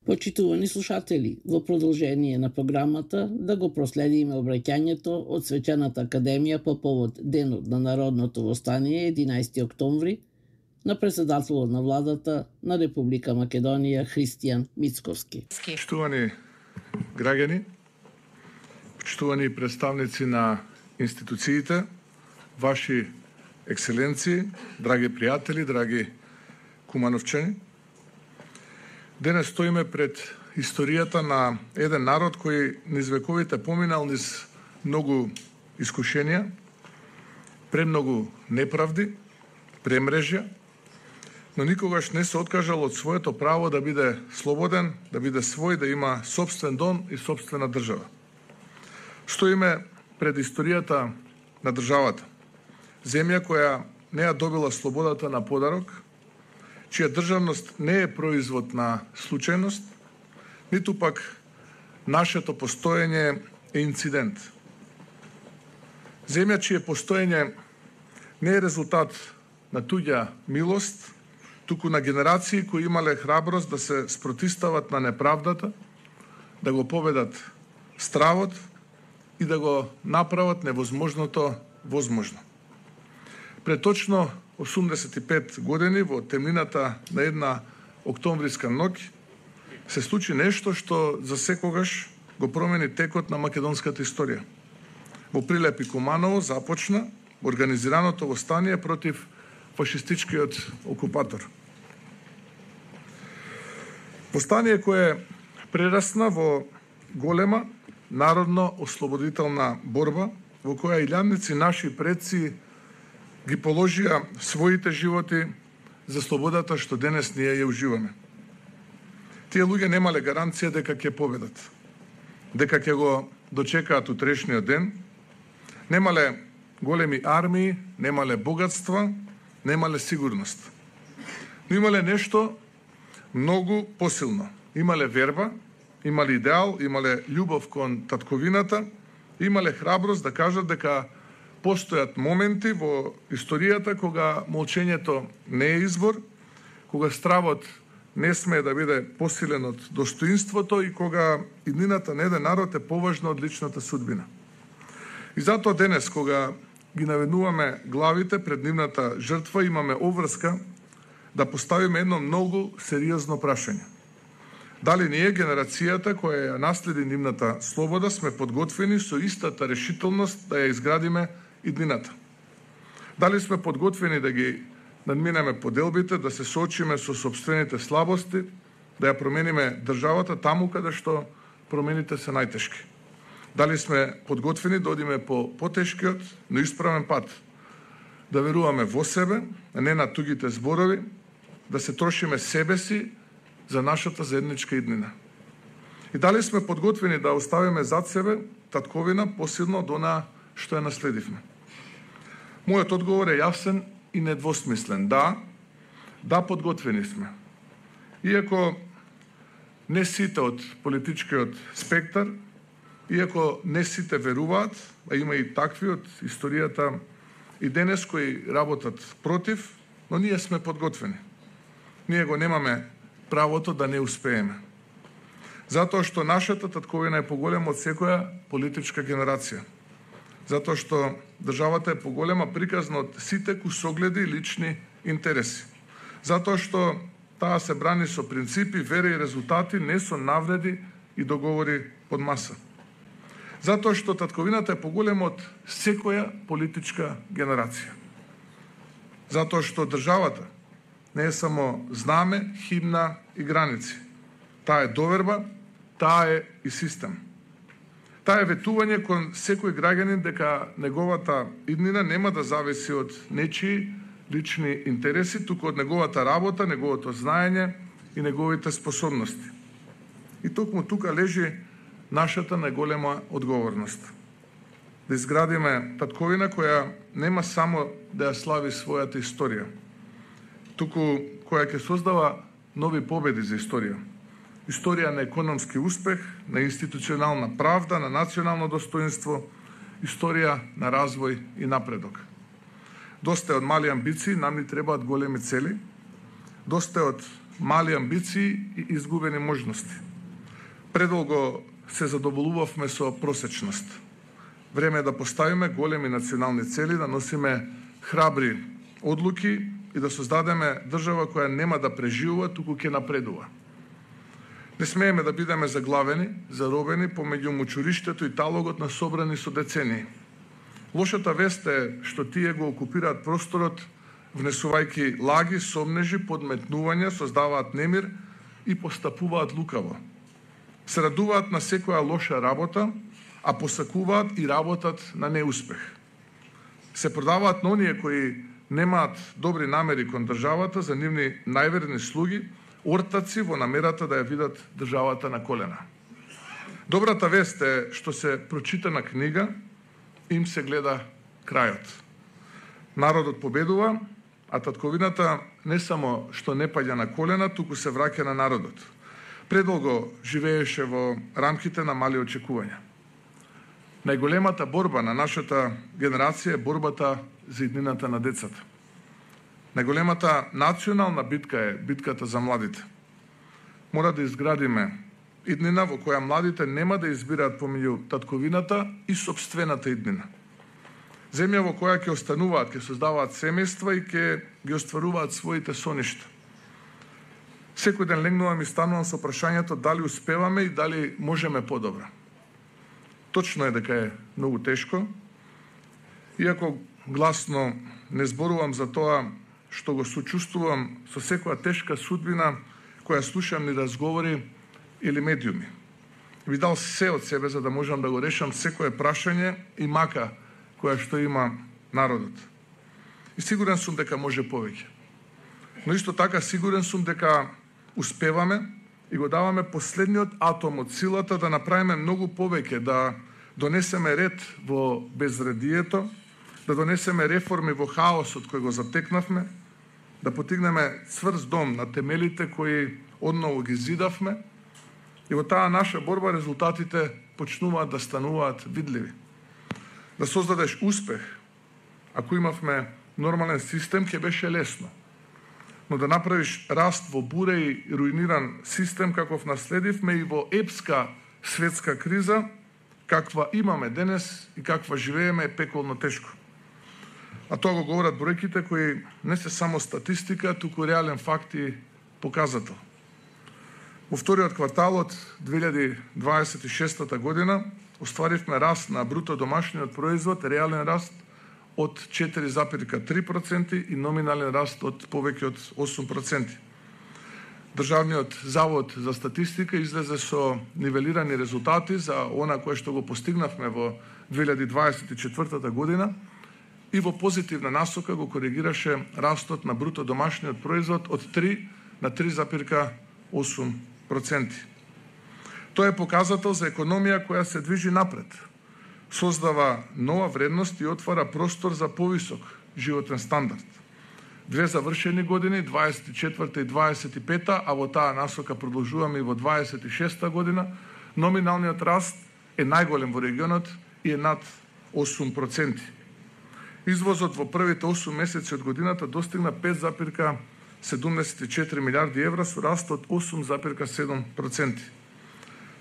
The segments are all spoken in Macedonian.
Почитувани слушатели, во продолжение на програмата да го проследиме обраќањето од Свечената академија по повод Денот на Народното востание 11 октомври на председателот на владата на Република Македонија Христијан Мицковски. Почитувани граѓани, почитувани представници на институциите, ваши екселенции, драги пријатели, драги кумановчани, денес стоиме пред историјата на еден народ кој низ вековите поминал низ многу искушенија, премногу неправди, премрежја, но никогаш не се откажал од своето право да биде слободен, да биде свој, да има собствен дом и собствена држава. Стоиме пред историјата на државата, земја која не ја добила слободата на подарок, чија државност не е производ на случајност, ниту пак нашето постоење е инцидент. Земја чие постоење не е резултат на туѓа милост, туку на генерации кои имале храброст да се спротистават на неправдата, да го победат стравот и да го направат невозможното возможно. Пред точно 85 години во темнината на една октомвриска ноќ се случи нешто што за секогаш го промени текот на македонската историја. Во Прилеп и Куманово започна организираното востание против фашистичкиот окупатор. Востание кое прерасна во голема народно-ослободителна борба во која илјадници наши предци ги положија своите животи за слободата што денес ние ја уживаме. Тие луѓе немале гаранција дека ќе победат, дека ќе го дочекаат утрешниот ден, немале големи армии, немале богатства, немале сигурност. Но имале нешто многу посилно. Имале верба, имале идеал, имале љубов кон татковината, имале храброст да кажат дека постојат моменти во историјата кога молчењето не е избор, кога стравот не смее да биде посилен од достоинството и кога иднината на еден народ е поважна од личната судбина. И затоа денес, кога ги наведнуваме главите пред нивната жртва, имаме обврска да поставиме едно многу сериозно прашање. Дали ние, генерацијата која ја наследи нивната слобода, сме подготвени со истата решителност да ја изградиме иднината? Дали сме подготвени да ги надминеме поделбите, да се соочиме со собствените слабости, да ја промениме државата таму каде што промените се најтешки? Дали сме подготвени да одиме по потешкиот, но исправен пат, да веруваме во себе, а не на тугите зборови, да се трошиме себе си за нашата заедничка иднина? И дали сме подготвени да оставиме зад себе татковина посилно од она што ја наследивме? Мојот одговор е јасен и недвосмислен. Да, подготвени сме. Иако не сите од политичкиот спектар, иако не сите веруваат, а има и такви од историјата и денес кои работат против, но ние сме подготвени. Ние го немаме правото да не успееме. Затоа што нашата татковина е поголема од секоја политичка генерација. Затоа што државата е поголема приказна од сите кусогледи и лични интереси. Затоа што таа се брани со принципи, вера и резултати, не со навреди и договори под маса. Затоа што татковината е поголема од секоја политичка генерација. Затоа што државата не е само знаме, химна и граници. Таа е доверба, таа е и систем. Таа е ветување кон секој граѓанин дека неговата иднина нема да зависи од нечии лични интереси, туку од неговата работа, неговото знаење и неговите способности. И токму тука лежи нашата најголема одговорност. Да изградиме татковина која нема само да ја слави својата историја, туку која ќе создава нови победи за историја. Историја на економски успех, на институционална правда, на национално достоинство, историја на развој и напредок. Доста од мали амбиции, нам ни требаат големи цели. Доста од мали амбиции и изгубени можности. Предолго се задоволувавме со просечност. Време е да поставиме големи национални цели, да носиме храбри одлуки и да создадеме држава која нема да преживува, туку ќе напредува. Не смееме да бидеме заглавени, заробени помеѓу мучуриштето и талогот на собрани со децении. Лошата вест е што тие го окупираат просторот, внесувајќи лаги, сомнежи, подметнувања, создаваат немир и постапуваат лукаво. Се радуваат на секоја лоша работа, а посакуваат и работат на неуспех. Се продаваат на оние кои немаат добри намери кон државата за нивни најверни слуги, ортаци во намерата да ја видат државата на колена. Добрата вест е што се прочитана книга, им се гледа крајот. Народот победува, а татковината не само што не паѓа на колена, туку се враќа на народот. Предолго живееше во рамките на мали очекувања. Најголемата борба на нашата генерација е борбата за иднината на децата. Најголемата национална битка е битката за младите. Мора да изградиме иднина во која младите нема да избираат помеѓу татковината и сопствената иднина. Земја во која ќе остануваат, ќе создаваат семејства и ќе ги остваруваат своите соништа. Секој ден легнувам и станувам со прашањето дали успеваме и дали можеме подобро. Точно е дека е многу тешко, иако гласно не зборувам за тоа што го сочувствувам со секоја тешка судбина која слушам ни разговори или медиуми. Ви дал се од себе за да можам да го решам секое прашање и мака која што има народот. И сигурен сум дека може повеќе. Но исто така сигурен сум дека успеваме и го даваме последниот атом од силата да направиме многу повеќе, да донесеме ред во безредието, да донесеме реформи во хаосот кој го затекнавме, да потигнеме цврст дом на темелите кои одново ги зидавме и во таа наша борба резултатите почнуваат да стануваат видливи. Да создадеш успех, ако имавме нормален систем, ќе беше лесно. Но да направиш раст во буре и руиниран систем каков наследивме и во епска светска криза, каква имаме денес и каква живееме, е пеколно тешко. А тоа го говорат бројките кои не се само статистика, туку реален факт и показател. Во вториот квартал од 2026 година остваривме раст на бруто домашниот производ, реален раст од 4,3% и номинален раст од повеќе од 8%. Државниот завод за статистика излезе со нивелирани резултати за она кое што го постигнавме во 2024 година и во позитивна насока го коригираше растот на бруто домашниот производ од 3 на 3,8%. Тоа е показател за економија која се движи напред, создава нова вредност и отвара простор за повисок животен стандард. Две завршени години, 24 и 25, а во таа насока продолжуваме и во 26 година, номиналниот раст е најголем во регионот и е над 8%. Извозот во првите 8 месеци од годината достигна 5,74 милиарди евра со раст од 8,7%.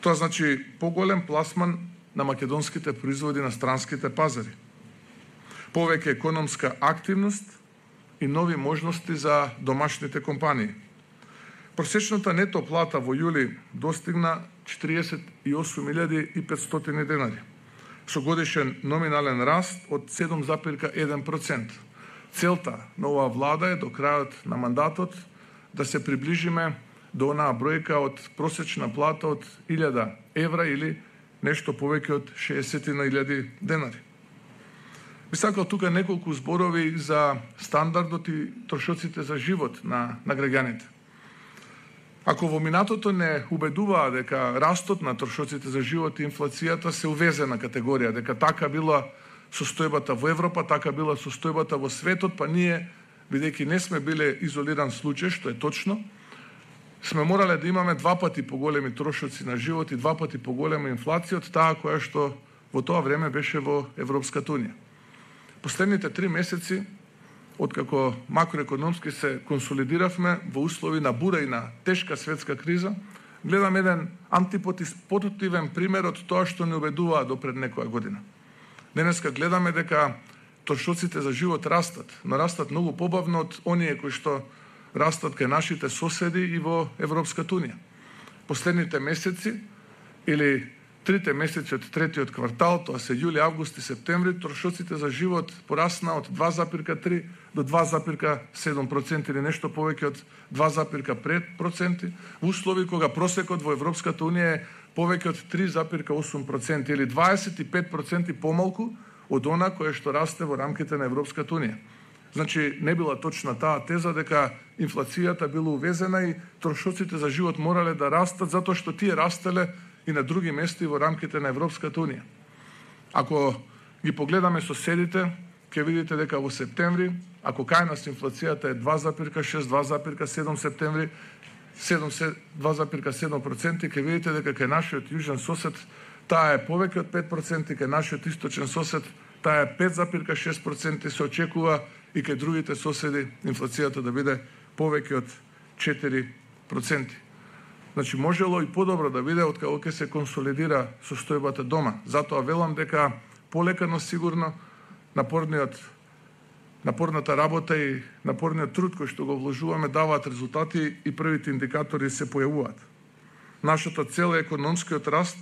Тоа значи поголем пласман на македонските производи на странските пазари, повеќе економска активност и нови можности за домашните компании. Просечната нето плата во јули достигна 48.500 денари, со годишен номинален раст од 7,1%. Целта на оваа влада е до крајот на мандатот да се приближиме до онаа бројка од просечна плата од 1000 евра или нешто повеќе од 60.000 денари. Би сакал тука неколку зборови за стандардот и трошоците за живот на граѓаните. Ако во минатото не убедуваа дека растот на трошоците за живот и инфлацијата се увезена категорија, дека така била состојбата во Европа, така била состојбата во светот, па ние, бидејќи не сме биле изолиран случај, што е точно, сме морале да имаме 2 пати поголеми трошоци на живот и 2 пати поголема инфлација од таа која што во тоа време беше во Европската унија. Последните 3 месеци откако макроекономски се консолидиравме во услови на бура и на тешка светска криза, гледам еден антипотивен пример од тоа што не убедуваа до пред некоја година. Денеска гледаме дека трошоците за живот растат, но растат многу побавно од оние кои што растат кај нашите соседи и во Европската унија. Последните месеци или 3 месеци од третиот квартал, тоа се јули, август и септември, трошоците за живот порасна од 2,3 до 2,7% или нешто повеќе од 2,5% во услови кога просекот во Европската унија е повеќе од 3,8% или 25% помалку од она кое што расте во рамките на Европската унија. Значи, не била точна таа теза дека инфлацијата била увезена и трошоците за живот морале да растат затоа што тие растеле и на други места во рамките на Европската унија. Ако ги погледаме соседите, ќе видите дека во септември, ако кај нас инфлацијата е 2,6, 2,7 септември, 2,7%, ќе видите дека кај нашиот јужен сосед таа е повеќе од 5%, кај нашиот источен сосед таа е 5,6%, се очекува и кај другите соседи инфлацијата да биде повеќе од 4%. Значи, можело и подобро да биде откако ќе се консолидира состојбата дома. Затоа велам дека полека, но сигурно напорната работа и напорниот труд кој што го вложуваме даваат резултати и првите индикатори се појавуваат. Нашата цел е економскиот раст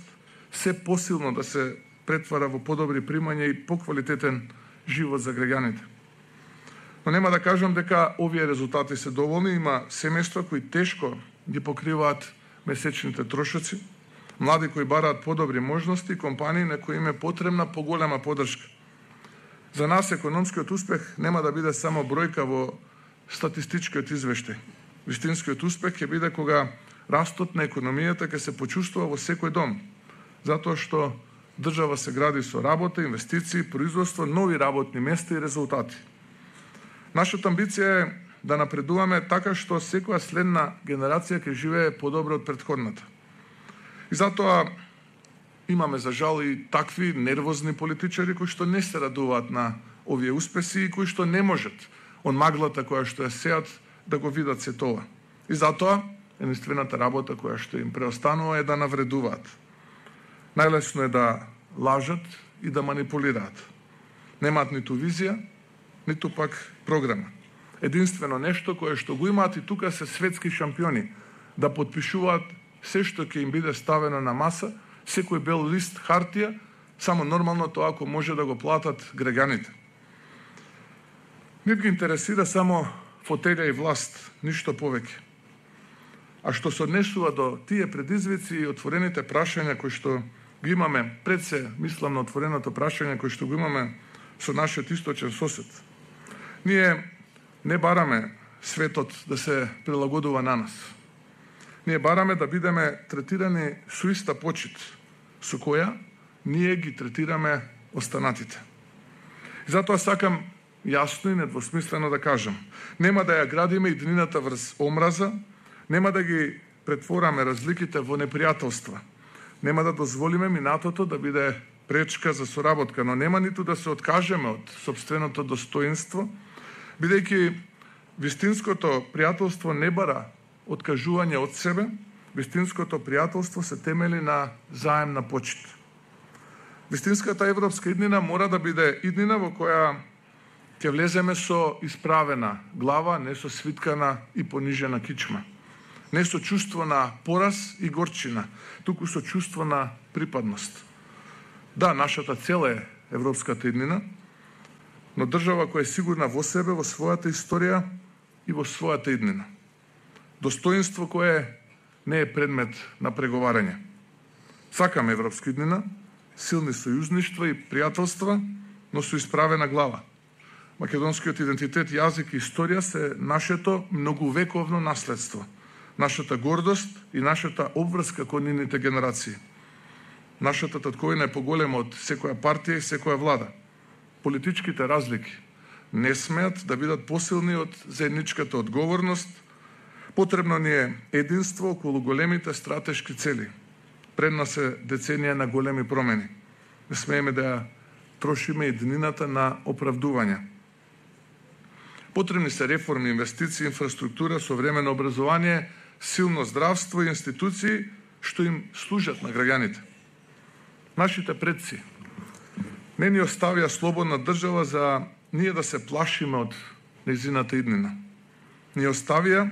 се посилно да се претвара во подобри примања и поквалитетен живот за граѓаните. Но нема да кажам дека овие резултати се доволни, има семејства кои тешко ги покриваат месечните трошоци, млади кои бараат подобри можности, компании на кои им е потребна поголема поддршка. За нас економскиот успех нема да биде само бројка во статистичкиот извештај. Вистинскиот успех ќе биде кога растот на економијата ќе се почувствува во секој дом, затоа што држава се гради со работа, инвестиции, производство, нови работни места и резултати. Нашата амбиција е да напредуваме така што секоја следна генерација ќе живее подобро од претходната. И затоа имаме за жал и такви нервозни политичари кои што не се радуваат на овие успеси и кои што не можат од маглата која што ја сеат да го видат се тоа. И затоа единствената работа која што им преостанува е да навредуваат. Најлесно е да лажат и да манипулираат. Немаат ниту визија, ниту пак програма. Единствено нешто кое што го имаат и тука се светски шампиони, да подпишуваат се што ќе им биде ставено на маса, секој бел лист хартија, само нормално тоа ако може да го платат граѓаните. Нив ги интересира само фотелја и власт, ништо повеќе. А што се однесува до тие предизвици и отворените прашања кои што ги имаме, пред се мислам на отвореното прашање кои што го имаме со нашиот источен сосед. Ние не бараме светот да се прилагодува на нас. Ние бараме да бидеме третирани со иста почит, со која ние ги третираме останатите. И затоа сакам јасно и недвосмислено да кажам, нема да ја градиме иднината врз омраза, нема да ги претвораме разликите во непријателства, нема да дозволиме минатото да биде пречка за соработка, но нема ниту да се откажеме од сопственото достоинство, бидејќи вистинското пријателство не бара откажување од себе, вистинското пријателство се темели на заемна почит. Вистинската европска иднина мора да биде иднина во која ќе влеземе со исправена глава, не со свиткана и понижена кичма. Не со чувство на пораз и горчина, туку со чувство на припадност. Да, нашата цел е европската иднина, но држава која е сигурна во себе, во својата историја и во својата иднина. Достоинство кое не е предмет на преговарање. Сакаме европска иднина, силни сојузништва и пријателства, но со исправена глава. Македонскиот идентитет, јазик и историја се нашето многувековно наследство, нашата гордост и нашата обврска кон нивните генерации. Нашата татковина е поголема од секоја партија и секоја влада. Политичките разлики не смеат да бидат посилни од заедничката одговорност. Потребно ни е единство околу големите стратешки цели. Пред нас е деценија на големи промени. Не смееме да ја трошиме иднината на оправдувања. Потребни се реформи, инвестиции, инфраструктура, современо образование, силно здравство и институции што им служат на граѓаните. Нашите предци не ни оставија слободна држава за ние да се плашиме од нејзината иднина. Ни оставија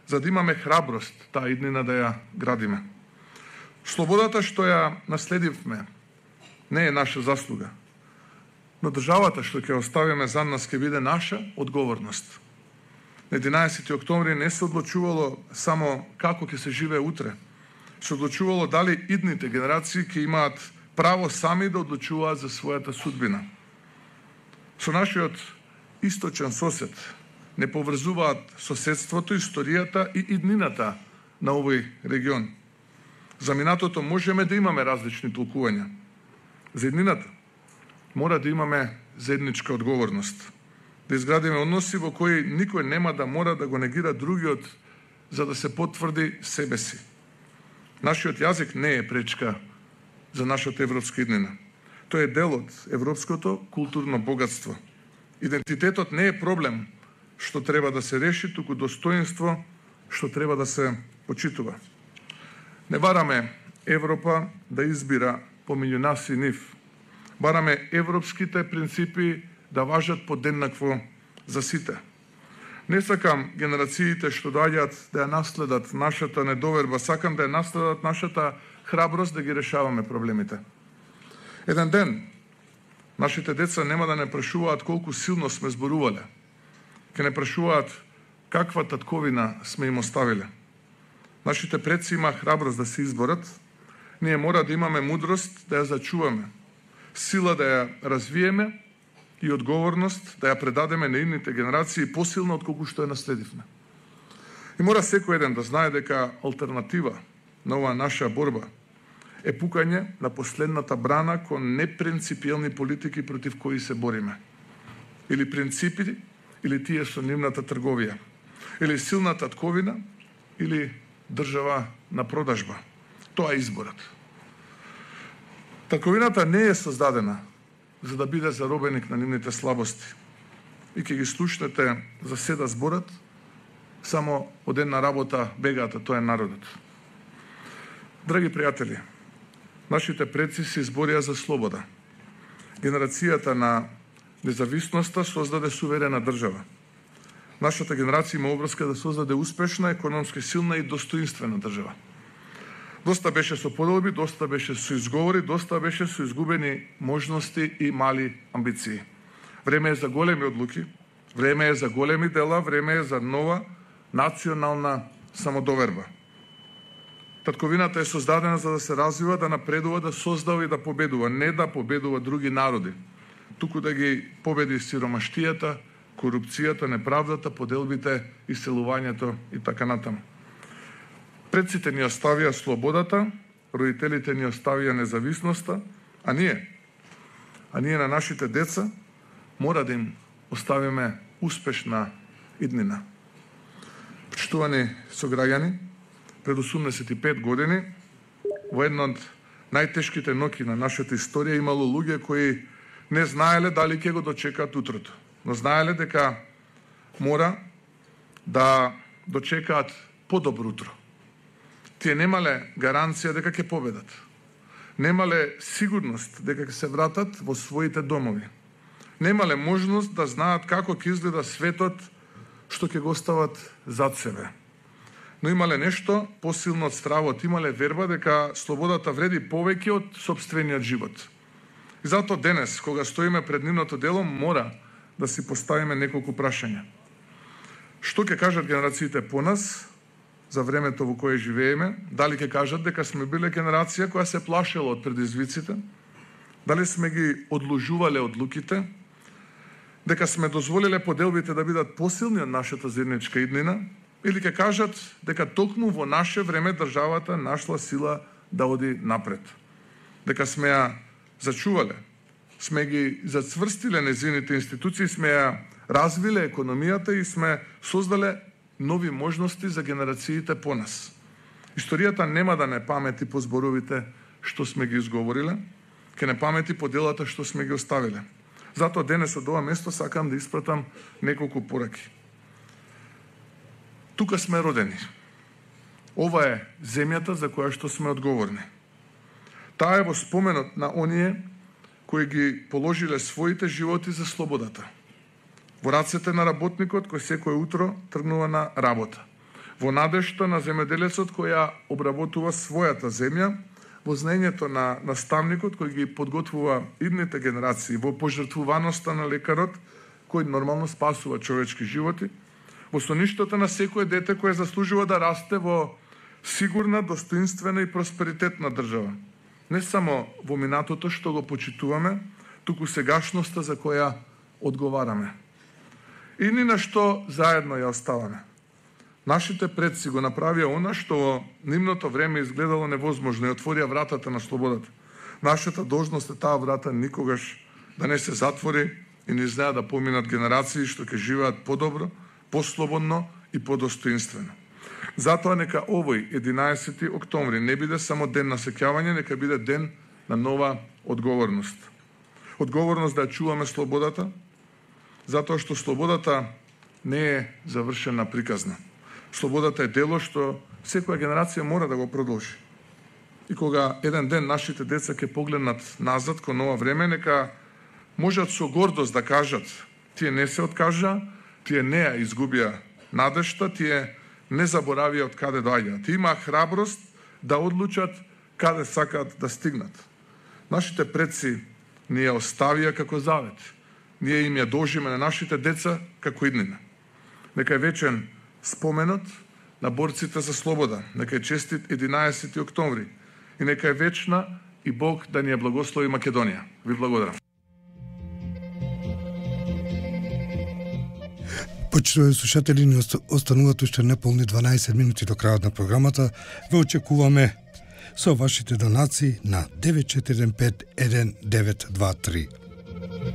за да имаме храброст таа иднина да ја градиме. Слободата што ја наследивме не е наша заслуга, но државата што ќе оставиме за нас ќе биде наша одговорност. На 11 октомври не се одлучувало само како ќе се живее утре, се одлучувало дали идните генерации ќе имаат право сами да одлучуваат за својата судбина. Со нашиот источен сосед не поврзуваат соседството, историјата и иднината на овој регион. За минатото можеме да имаме различни толкувања. За иднината мора да имаме заедничка одговорност. Да изградиме односи во кои никој нема да мора да го негира другиот за да се потврди себе си. Нашиот јазик не е пречка за нашата европска иднина. Тој е дел од европското културно богатство. Идентитетот не е проблем што треба да се реши, туку достоинство што треба да се почитува. Не бараме Европа да избира помеѓу нас и нив. Бараме европските принципи да важат подеднакво за сите. Не сакам генерациите што доаѓаат да ја наследат нашата недоверба, сакам да ја наследат нашата храброст да ги решаваме проблемите. Еден ден нашите деца нема да не прашуваат колку силно сме зборувале. Ке не прашуваат каква татковина сме им оставиле. Нашите предци има храброст да се изборат. Ние мора да имаме мудрост да ја зачуваме, сила да ја развиеме и одговорност да ја предадеме на идните генерации посилно отколку што ја наследивме. И мора секој еден да знае дека алтернатива на оваа наша борба е пукање на последната брана кон непринципиелни политики против кои се бориме. Или принципи, или тие со нивната трговија. Или силна татковина, или држава на продажба. Тоа е изборот. Татковината не е создадена за да биде заробеник на нивните слабости. И ќе ги слушнете за седа зборат, само од една работа бегаат, тоа е народот. Драги пријатели, нашите предци се изборија за слобода. Генерацијата на независноста создаде суверена држава. Нашата генерација има обврска да создаде успешна, економски силна и достоинствена држава. Доста беше со подолби, доста беше со изговори, доста беше со изгубени можности и мали амбиции. Време е за големи одлуки, време е за големи дела, време е за нова национална самодоверба. Татковината е создадена за да се развива, да напредува, да создава и да победува, не да победува други народи, туку да ги победи сиромаштијата, корупцијата, неправдата, поделбите, иселувањето и така натаму. Предците ни оставија слободата, родителите ни оставија независноста, а ние на нашите деца мора да им оставиме успешна иднина. Почитувани сограѓани, пред 85 години, во една од најтешките ноќи на нашата историја имало луѓе кои не знаеле дали ќе го дочекаат утрото, но знаеле дека мора да дочекаат подобро утро. Тие немале гаранција дека ќе победат. Немале сигурност дека ќе се вратат во своите домови. Немале можност да знаат како ќе изгледа светот што ќе го остават зад себе. Но имале нешто посилно од стравот, имале верба дека слободата вреди повеќе од сопствениот живот. И затоа денес, кога стоиме пред нивното дело, мора да си поставиме неколку прашања. Што ќе кажат генерациите по нас за времето во кое живееме? Дали ќе кажат дека сме биле генерација која се плашела од предизвиците? Дали сме ги одложувале одлуките? Дека сме дозволиле поделбите да бидат посилни од нашата заедничка иднина? Или ќе кажат дека токму во наше време државата нашла сила да оди напред? Дека сме ја зачувале, сме ги зацврстиле незините институции, сме ја развиле економијата и сме создале нови можности за генерациите по нас. Историјата нема да не памети по зборовите што сме ги изговориле, ќе не памети по делата што сме ги оставиле. Затоа денес од ова место сакам да испратам неколку пораки. Тука сме родени. Ова е земјата за која што сме одговорни. Таа е во споменот на оние кои ги положиле своите животи за слободата. Во рацете на работникот кој секој утро тргнува на работа. Во надежта на земјоделецот кој ја обработува својата земја, во знаењето на наставникот кој ги подготвува идните генерации, во пожртвуваноста на лекарот кој нормално спасува човечки животи, во соништата на секое дете кое заслужува да расте во сигурна, достоинствена и просперитетна држава. Не само во минатото што го почитуваме, туку сегашноста за која одговараме. И ни на што заедно ја оставаме. Нашите предци го направија она што во нивното време изгледало невозможно и отворија вратата на слободата. Нашата должност е таа врата никогаш да не се затвори и не знаат да поминат генерации што ќе живеат подобро, послободно и подостоинствено. Затоа нека овој 11 октомври не биде само ден на сеќавање, нека биде ден на нова одговорност. Одговорност да ја чуваме слободата, затоа што слободата не е завршена приказна. Слободата е дело што секоја генерација мора да го продолжи. И кога еден ден нашите деца ќе погледнат назад кон ова време, нека можат со гордост да кажат: тие не се откажа, тие не ја изгубија надежта, тие не заборавија од каде доаѓаат. Тие имаа храброст да одлучат каде сакаат да стигнат. Нашите предци ни ја оставија како завет. Ние им ја должиме на нашите деца како иднина. Нека е вечен споменот на борците за слобода. Нека е честит 11 октомври. И нека е вечна и Бог да ни ја благослови Македонија. Ви благодарам. Почитувани слушатели, ни остануваат уште неполни 12 минути до крајот на програмата. Ве очекуваме со вашите донации на 9415 1923.